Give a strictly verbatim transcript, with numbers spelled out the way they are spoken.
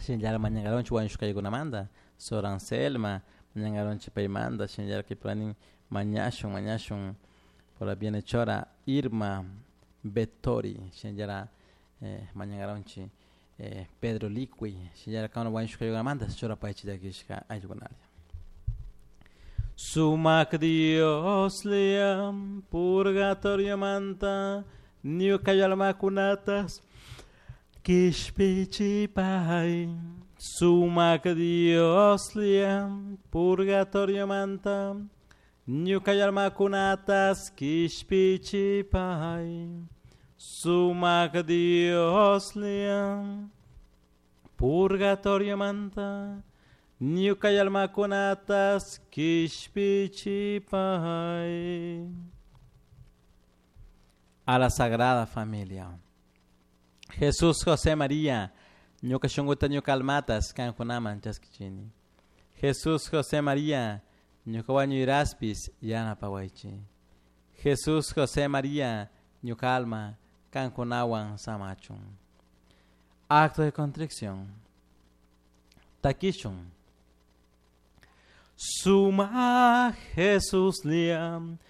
Shinallara mañankaronchik wañushka ayllukunamanta Sor Anselma mañankaronchik paymanta, shinallara kaypika mañashun mañashun por la bienhechora Irma Vettori, shinallara eh, mañankaronchik eh, Pedro Liqui, shinallara kankuna wañushka ayllukunamanta churapaychik llakishka ayllukunalla. Sumak Dioslla purgatoriomanta ñuka almakunatas kishpichipay. Sumak Dioslla purgatoriomanta ñuka almakunatas kishpichipay. Sumak Dioslla purgatoriomanta ñuka almakunatas kishpichipay. A la Sagrada Familia. Jesús, José, María, ñuka shunkuta, ñuka almatas kankunaman chaskichini. Jesús, José, María, ñuka wañuyraspis yanapawaychik. Jesús, José, María, ñuka alma kankunawan samachun. Acto de contrición. Takishun. Suma Jesuslla.